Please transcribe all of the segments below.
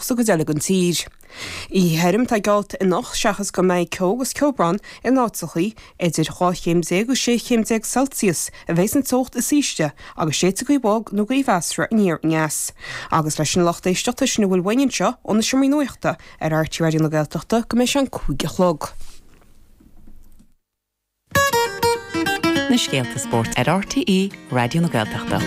sa gcuid eile den tír. Oíche thirim atá geallta anocht seachas go mbeidh ceo agus ceobhrán in áiteachaí. Idir 12 chéim agus 16 chéim Celsius a bheidh an teocht is ísle agus séidfidh gaoth bhog nó gaoth mheasartha aniar aneas. Agus leis an lucht éisteachta sin a bhfuil uainn anseo ó na seomraí nuachta ar RTÉ Raidió na Gaeltachta go mbeidh sé an 5 a chlog. Na scéalta spóirt ar RTÉ Raidió na Gaeltachta.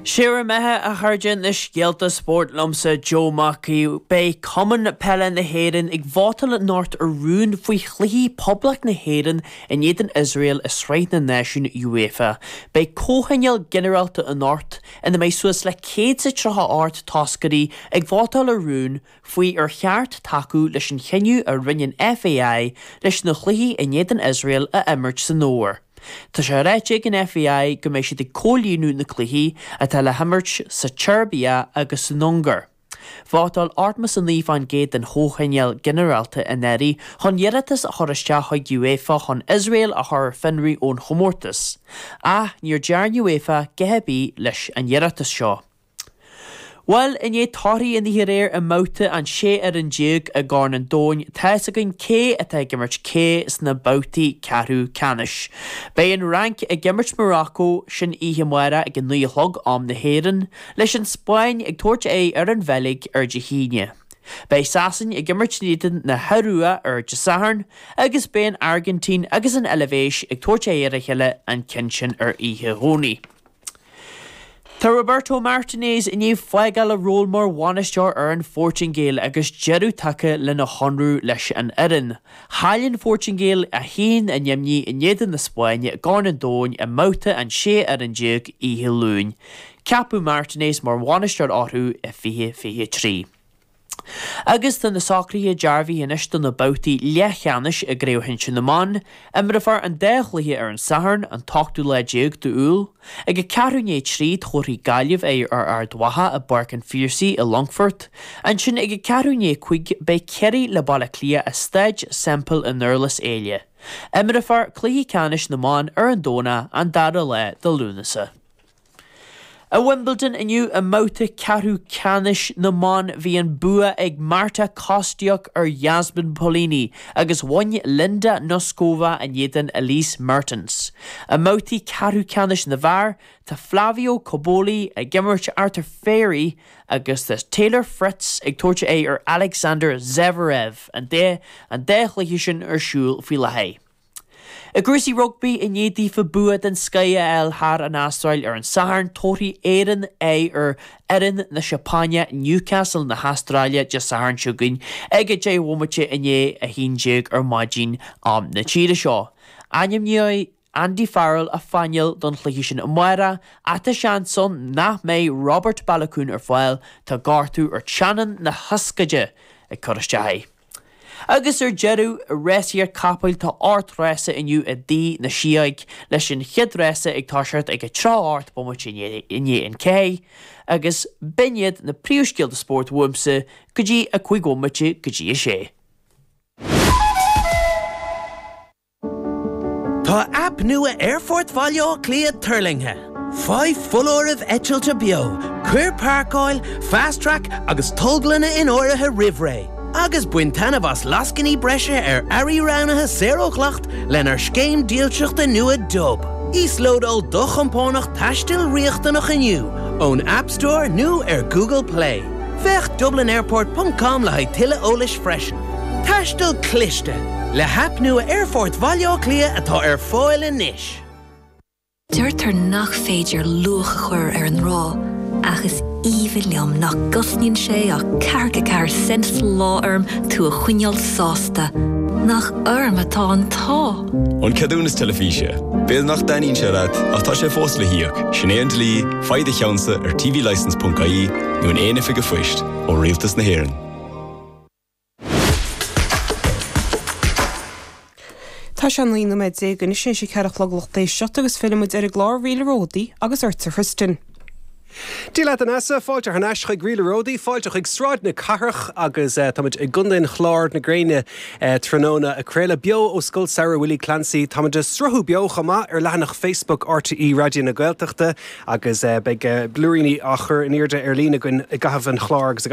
Sé bhur mbeatha, a chairde, na scéalta spóirt liomsa, Joe Mac Aoidh. Beidh Cumann Peile na hÉireann ag vótáil anocht ar rún faoi chluichí Poblacht na hÉireann in éadan Iosrael i Sraith na Náisiún UEFA. Beidh comhthionól ginearálta anocht ina mbeidh suas le 138 toscairí ag vótáil ar rún faoi ar cheart tacú leis an chinneadh a rinne an FAI leis na cluichí in éadan Iosrael a imirt san fhómhar. Tá sé ráite ag an FAI go mbeidh siad ag comhlíonadh na cluichí atá le himirt sa tSeirbia agus san Ungáir. Vótáil 89% den chomhthionól ginearálta anuraidh chun iarratas a chur isteach chuig UEFA chun Iosrael a chur ar fionraí ón chomórtas. Ach níor dearn UEFA a dhath ar bith leis an iarratas seo. Bhuel, i ndiaidh torthaí an oíche aréir i mbabhta an 16 fhoireann i gCorn an Domhain, tá fhios againn cé atá ag imirt cé sna babhtaí ceathrú ceannais. Beidh an Fhrainc ag imirt Morocco, sin oíche amárach ag a 9 a chlog, am na hÉireann, leis an Spáinn ag tabhairt aghaidh ar an Bheilg ar Dé hAoine. Beidh Sasain ag imirt in éadan na hIorua ar Dé Sathairn agus beidh an Airgintín agus an Eilvéis ag tabhairt aghaidh ar a chéile an ceann sin ar oíche Dhomhnaigh. Tá Roberto Martinez i ndiaidh fágáil a ról mar bhainisteoir ar an Phortaingéil agus deireadh tagtha lena chonradh leis an fhoireann. Chaill an Phortaingéil 1-0 in éadan na Spáinne i gCorn an Domhain i mbabhta an 16 fhoireann oíche Luain. Ceapadh Martinez mar bhainisteoir orthu i 2023. Agus tá na socruithe dearbhaithe anois do na babhtaí leathcheannais i gCraobh Shinsir na mBan. Imreofar an dá chluiche ar an Satharn, an t-ochtú lá déag d'Iúil. Ag a ceathrú i ndiaidh a 3 tabharfaidh Gaillimh aghaidh ar Ard Mhacha i bPáirc an Phiarsaigh i Longfort. Ansin ag a ceathrú i ndiaidh a 5 beidh Ciarraí le Baile Átha Cliath i Staid Semple i nDurlas Éile. Imreofar cluiche ceannais na mban ar an Domhnach, an dara lá de Lúnasa. I Wimbledon inniu i mbabhta ceathrú ceannais na mban bhí an bua ag Marta Kostyuk ar Jasmine Paolini agus bhain Linda Noskova in éadan Elise Mertens. I mbabhtaí ceathrú ceannais na bhfear tá Flavio Cobolli ag imirt Arthur Fery agus tá Taylor Fritz ag tabhairt aghaidh ar Alexander Zverev, an dá chluiche sin ar siúl faoi láthair. I gcúrsaí rugbaí, i ndiaidh daofa bua den scoith a fháil thar an Astráil ar an Satharn, tabharfaidh Éirinn aghaidh ar fhoireann na Seapáine, Newcastle na hAstráile, Dé Sathairn seo chugainn ag 10 bhomaite i ndiaidh 11 ar maidin, am na tíre seo. Ainmneoidh Andy Farrell a phainéal don chluiche sin amárach, ach tá seans ann nach mbeidh Robert Baloucoune ar fáil, tá gortú ar teannán na hioscaide ag cur isteach air. Agus ar deireadh, i rásaíocht capaill tá 8 rása inniu i dTigh na Sióg, leis an chéad rása ag toiseacht ag a 38 bomaite i ndiaidh an 4, agus b'in iad na príomhscéalta spóirt uaimse go dtí a 5 bhomaite go dtí a 6. Tá aip nua Aerfort Bhaile Átha Cliath tuirlingthe. Faigh foláirimh eitilte beo, cuir páirceáil, Fast Track agus tolglanna in áirithe roimh ré, agus bain taitneamh as lascainí breise ar earraí roghnaithe saor ó dhleacht lenár scéim dílseachta nua Dub. Íoslódáil do chompánach taistil riachtanach inniu ón App Store nó ar Google Play. Féach dublinairport ponc com le haghaidh tuilleadh eolais freisin. Taisteal cliste! Le haip nua Aerfort Bhaile Átha Cliath atá ar fáil anois. Deirtear nach féidir luach a chur ar an ngrá, ach is aoibhinn liom nach gcosnaíonn sé ach ceathracha ceathair cent sa lá orm tú a choinneáil sásta. Nach orm atá an t-ádh! An ceadúnas teilifíse. B'fhéidir nach dtaitníonn sé leat, ach tá sé fós le híoc. Sin é an dlí, faigh do cheannsa ar tvlicence.ie nó in aon oifig an phoist, ó Rialtas na hÉireann. Tá sé 19 nóiméad anois théis a 4 a chlog lucht éisteachta agus fillfidh muid ar an gclár Ríle Ródaí agus ortsa a Thristan. Dia leat a Neasa, fáilte thar n-ais chuig Ríle Ródaí, fáilte chuig Sráid na Cathrach agus táimid i gContae an Chláir na gréine tráthnóna ag craoladh beo ó Scoil Samhraidh Willie Clancy. Táimid ag sruthú beo chomh maith ar leathanach Facebook RTÉ Raidió na Gaeltachta agus beidh blúiríní á chur in airde ar líne againn i gcaitheamh an chláir agus i.